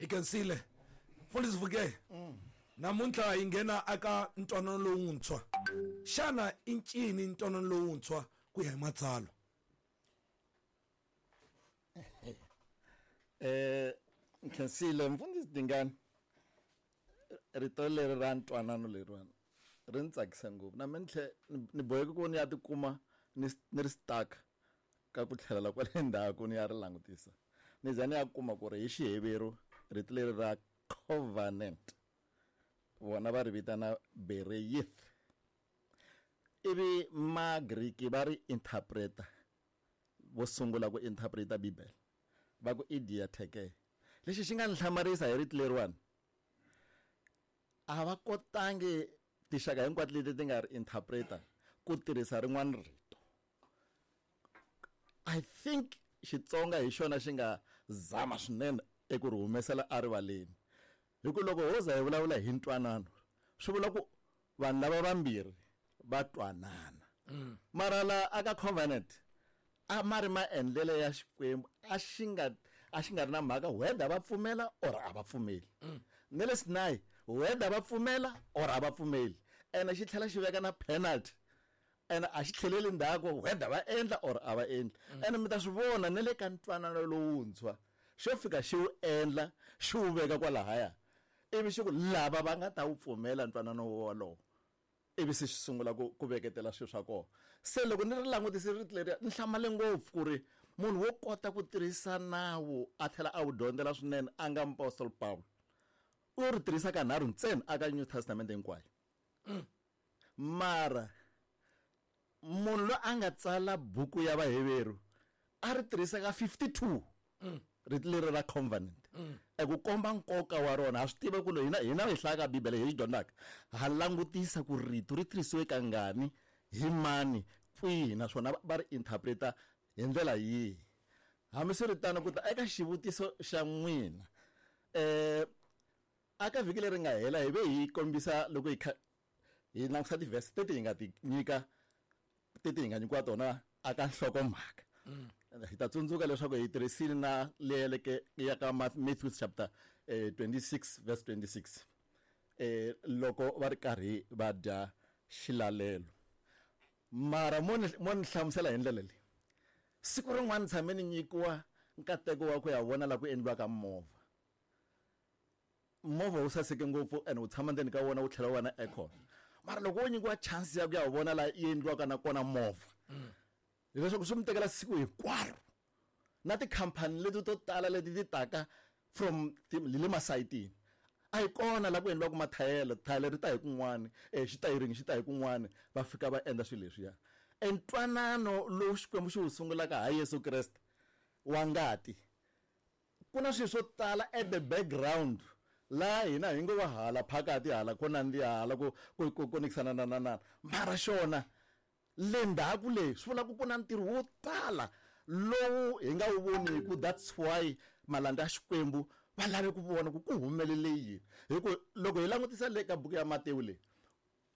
Hi khensile mfundhisi Vuke. Namuntlha hi nghena aka ntwanano lowuntshwa. Xana i ncini ntwanano lowuntshwa ku ya hi matsalwa? Nkhensile mfundhisi Dingani, rito leri ra ntwanano leriwani ri ni tsakisa ngopfu. Na mina tlhe ni boheke ku ni ya tikuma ni ri stuck ka ku tlhelela kwale ndzhaku ni ya ri langutisa. Ni za ni ya kuma ku ri hi Xiheveru rito leri ra covenant vona va ri vitana bereyith, ivi Magriki va ri interpreta, vo sungula ku interpreta Bibele va ku i diatheke. Lexi xi nga ni hlamarisa hi rito leriwani, a va kotangi tinxaka hinkwato leti ti nga ri interpreta ku tirhisa rin'wana rito. I think Xitsonga hi xona xi nga zama swinene eku ri humesela erivaleni, hi ku loko ho za hi vulavula hi ntwanano swi vula ku vanhu lava vambirhi va twanana. Mara la aka covenant a ma ri maendlelo ya Xikwembu, a xi nga ri na mhaka whether va pfumela or a va pfumeli. Ne le Sinai whether va pfumela or a va pfumeli, ene xi tlhela xi veka na penalty, ene a xi tlheleli ndzhaku whether va endla or a va endli. Ene mi ta swi vona ne le ka ntwanano lowuntshwa xo fika xi wu endla xi wu veka kwalahaya, ivi xi ku lava va nga ta wu pfumela ntwanano wolowo, ivi se xi sungula ku veketela swilo swa kona. Se loko ni ri langutise rito leriya ni hlamale ngopfu ku ri munhu wo kota ku tirhisa nawu a tlhela a wu dyondzela swinene a nga Apostle Paul, u ri tirhisa kanharhu ntsena aka New Testament hinkwayo. Mara munhu loyi a nga tsala buku ya Vaheveru a ri tirhisa ka 52 rito leri ra covenant. Eku komba nkoka wa rona. Ha swi tiva ku loko hina hi hlayaka Bibele hi yi dyondzaka, ha langutisa ku rito ri tirhisiwe kangani, hi mani, kwihi, naswona va ri interpreta hi ndlela yihi. Hambiswiritano, ku ta eka xivutiso xa n'wina, aka vhiki leri nga hela hi ve hi kombisa loko hi kha hi langutisa ti-verse teti hi nga ti nyika, teti hi nga nyikiwa tona aka nhlokomhaka. Hi ta tsundzuka leswaku hi tirhisile na leyi ya ka Matthew chapter 26 verse 26, loko va ri karhi va dya xilalelo. Mara mo ni hlamusela hi ndlela leyi, siku rin'wana tshame ni nyikiwa nkateko wa ku ya vona la ku endliwaka movha. Movha wu saseke ngopfu and wu tshama ndzeni ka wona wu tlhela wu va na aircon. Mara loko wo nyikiwa chance ya ku ya vona la yi endliwaka na kona movha, hileswaku swi mi tekela siku hinkwaro. Na tikhampani leti to tala leti ti taka from le masayitini, a yi kona la ku endliwaka mathayela, thayela ri ta hi kun'wani, xitayiringi xi ta hi kun'wani, va fika va endla swilo leswiya. E ntwanano lowu Xikwembu xi wu sungulaka ha Yesu Kreste wa ngati, ku na swilo swo tala at the background laha hina hi ngo va hala phakati, hala ko nandziha, hala ku konekisana na na na. Mara xona le ndzhaku le swi vula ku ku na ntirho wo tala lowu hi nga wu voniku. That's why malandza ya Xikwembu va lave ku vona ku ku humelele yini. Hi ku loko hi langutisa le ka buku ya Matewu leyi,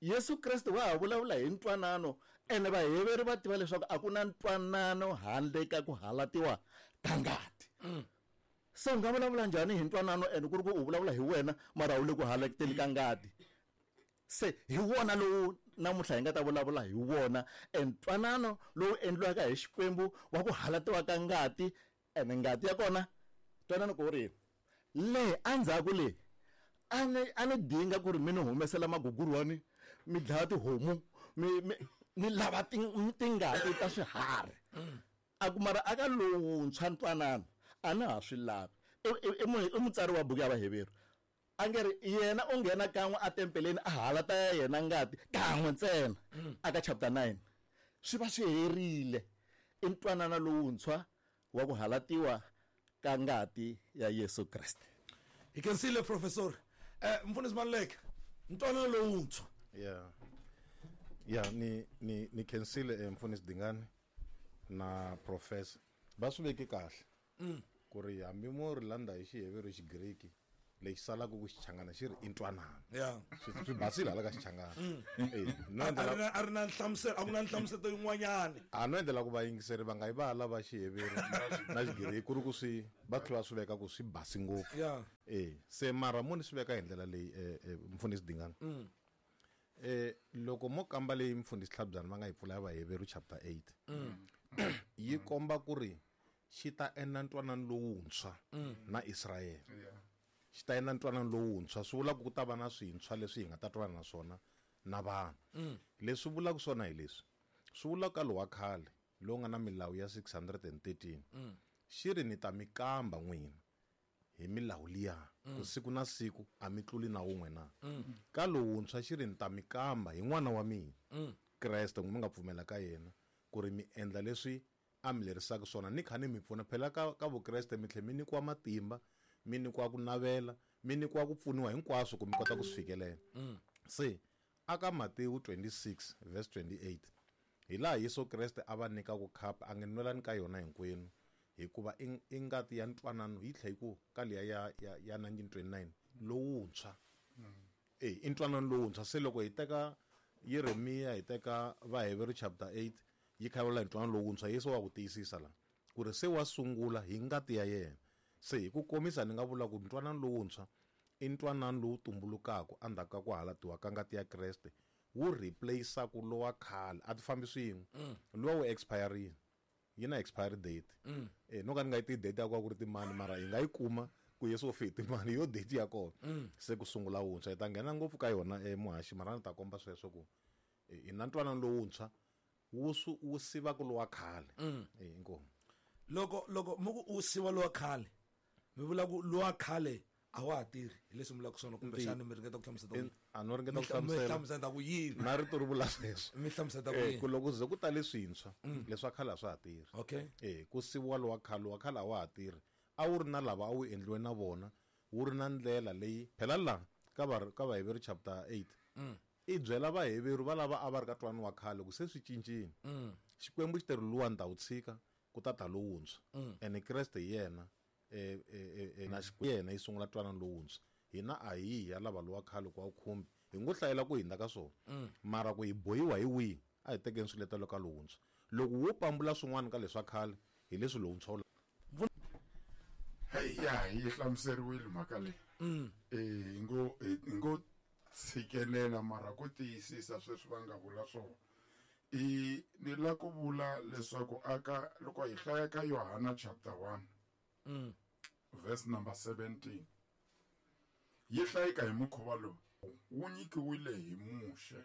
Yesu Kreste wa ha vulavula hi ntwanano, ene Vaheveri va tiva leswaku a ku na ntwanano handle ka ku halatiwa ka ngati. Se u nga vulavula njhani hi ntwanano ene ku ri ku u vulavula hi wena mara u le ku halateni ka ngati? Se hi wona lowu namuntlha hi nga ta vulavula hi wona, e ntwanano lowu endliwaka hi Xikwembu wa ku halatiwa ka ngati, ene ngati ya kona ntwanano ku ri le endzhaku le a ni dinga ku ri mi ni humesela magugurwani, mi dlaya tihomu, mi lava tingati ta swiharhi. A ku mara aka lowuntshwa ntwanano a na ha swi lavi. I mutsari wa buku ya Vaheveru, a nge ri yena u nghena kan'we a tempeleni a halata ya yena ngati kan'we ntsena aka chapter 9, swi va swi herile. I ntwanano lowuntshwa wa ku halatiwa ka ngati ya Yesu Kreste. Hi khensile professor. Mfundhisi Maluleke, ntwanano lowuntshwa. Yeah. Yeah, ni khensile Mfundhisi Dingani na professor. Va swi veke kahle. Ku ri hambi mo ri landa hi Xiheveru, Xigriki, Lexi salaka ku Xichangana xi ri i ntwanano. Ya. Swi basile hala ka Xichangana. Eh, no A endlela ri na a ri na nhlamuselo, a ku na nhlamuselo yin'wanyana. A no endlela ku vayingiseri va nga yi va lava Xiheveru na Xigiriki ku ri ku swi va tlhela swi veka ku swi basi ngopfu. Ya. Eh, se mara mo ni swi veka hi ndlela leyi mfundhisi Dingani. Loko mo kamba leyi mfundhisi Tlhabyana va nga yi pfula ya Vaheveru chapter 8. Yi komba ku ri xi ta endla ntwanano lowuntshwa na Israyele. Xi ta endla ntwanano lowuntshwa swi vula ku ku ta va na swintshwa leswi hi nga ta twanana na swona na vanhu. Leswi vulaka swona hi leswi. Swi vula ka lowa khale lowu nga na milawu ya 613. Xi ri ni ta mi kamba n'wina hi milawu liya ku siku na siku a mi tluli na wun'we na. Ka lowuntshwa xi ri ni ta mi kamba hi n'wana wa mina Kreste n'wi mi nga pfumela ka yena ku ri mi endla leswi a mi lerisaka swona ni kha ni mi pfuna. Phela ka Vukreste mi tlhe mi nyikiwa matimba, mi nyikiwa ku navela, mi nyikiwa ku pfuniwa hinkwaswo ku mi kota ku swi fikelela. Se aka Matewu 26 verse 28 hi laha Yesu Kreste a va nyikaka khapu a nge nwelani ka yona hinkwenu hikuva i ngati ya ntwanano yi tlhe yi ku ka liya ya 1929 lowuntshwa. I ntwanano lowuntshwa. Se loko hi teka Yeremiya hi teka Vaheveru chapter 8 yi kha yi vula hi ntwanano lowuntshwa, Yesu wa ku tiyisisa la ku ri se wa sungula hi ngati ya yena. Se hi ku komisa ni nga vula ku ntwanano lowuntshwa i ntwanano lowu tumbulukaka endzhaku ka ku halatiwa ka ngati ya Kreste, wu replace-aku lowa khale. A ti fambi swin'we. Luwa wu expire-rile, yi na expiry date. No ka ni nga yi tivi date ya kona ku ri timani, mara hi nga yi kuma ku Yesu u fe hi timani, yo date ya kona. Se ku sungula wuntshwa. Hi ta nghena ngopfu ka yona muhaxi, mara ni ta komba sweswo ku hi na ntwanano lowuntshwa wu sivaka lowa khale. Inkomu. Loko mi ku u siva lowa khale, mi vula ku lowa khale a wa ha tirhi, hi leswi mi vulaka swona, kumbexana mi ringeta ku hlamusela ku yini? A no ringeta ku Mi hlamusela. hlamusela ku yini? Na rito ri vula sweswo. Mi hlamusela ku yini? Ku loko ze ku tale swintshwa, leswa khale a swa ha tirhi. Ku siviwa lowa khale, lowa khale a wa ha tirhi. A wu ri na lava a wu endliwe na vona, wu ri na ndlela leyi phela la ka Vaheveru chapter 8. I byela Vaheveru va lava a va ri ka ntwanano wa khale ku se swi cincile. Xikwembu xi te ri luwa ni ta wu tshika ku ta ta lowuntshwa. Ene Kreste hi yena, na Xikwembu yena yi sungula ntwanano lowuntshwa. Hina a hi ya lava lowa khale ku a wu khumbi, hi ngo hlayela ku hindza ka swona. Mara ku hi bohiwa hi wihi, a hi tekeni swiletelo ka lowuntshwa. Loko wo pambula swin'wana ka leswa khale, hi leswi lowuntshwa wu Hey, ya, yi hlamuseriwile mhaka leyi. Hi ngo tshikelela mara ku tiyisisa sweswi va nga vula swona. I ni la ku vula leswaku aka loko hi hlaya ka Yohana chapter 1, verse number 17, yi hlayeka hi mukhuva lowu: wu nyikiwile hi Muxe,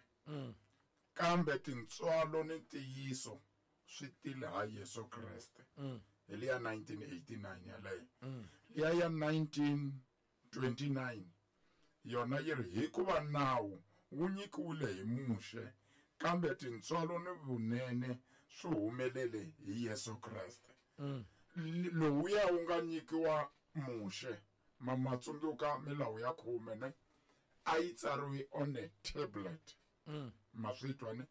kambe tintswalo ni ntiyiso swi tile ha Yesu Kreste. Hi liya 1989 yaleyo. Liya ya 1929 yona yi ri hikuva nawu wu nyikiwile hi Muxe, kambe tintswalo ni vunene swi humelele hi Yesu Kreste. Lowuya wu nga nyikiwa Muxe, ma tsundzuka milawu ya 10 ne? A yi tsariwe on a tablet. Ma swi twa ne?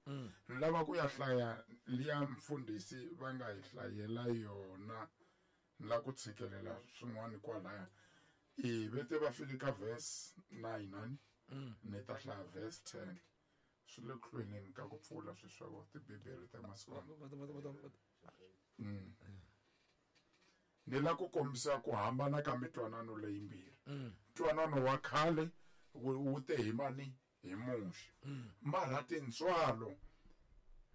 Ni lava ku ya hlaya liya mfundhisi va nga hi hlayela yona, ni lava ku tshikelela swin'wana kwalaya. I vete va fike ka verse 9, ani? Ni ta hlaya verse 10. Swi le ku hlweleni ka ku pfula sweswi swa vona tibibele ta masiku lama. Ni la ku kombisa ku hambana ka mitwanano leyimbirhi. Ntwanano wa khale wu te hi mani? Hi Muxe. Mara tintswalo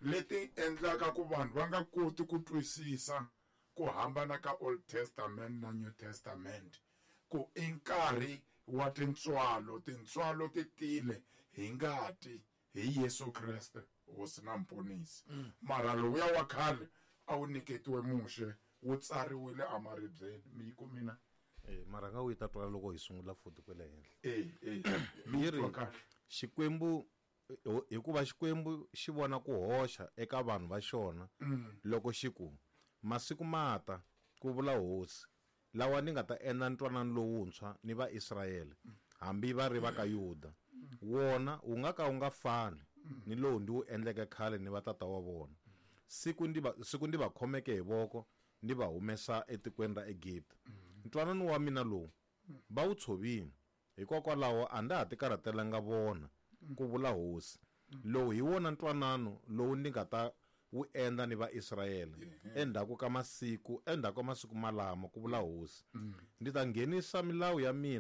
leti endlaka ku vanhu va nga koti ku twisisa ku hambana ka Old Testament na New Testament, ku i nkarhi wa tintswalo, tintswalo ti tile hi ngati hi Yesu Kreste Hosi na Mponisi. Mara lowuya wa khale a wu nyiketiwe Muxe, wu tsariwile emaribyeni. Mi yi kumina? Mara nga wu yi ta twala loko hi sungula futhi kwele henhla. Mi Yi ri, twa kahle. Xikwembu, hikuva Xikwembu xi vona ku hoxa eka vanhu va xona loko xi ku, masiku ma ta, ku vula Hosi, lawa ni nga ta endla ntwanano lowuntshwa ni Vaisrayele, hambi va ri va ka Yuda. Wona wu nga ka wu nga fani ni lowu ndi wu endleke khale ni vatata wa vona. Siku ndi va khomeke hi voko ndi va humesa etikweni ra Egipta. Ntwanano wa mina lowu va wu tshovile, Hikokwalaho a nda ha tikarhatelanga vona, ku vula Hosi. Lowu hi wona ntwanano lowu ni nga ta wu endla ni Vaisrayele endzhaku ka masiku, endzhaku ka masiku malamo, ku vula Hosi. Ndzi ta nghenisa milawu ya mina.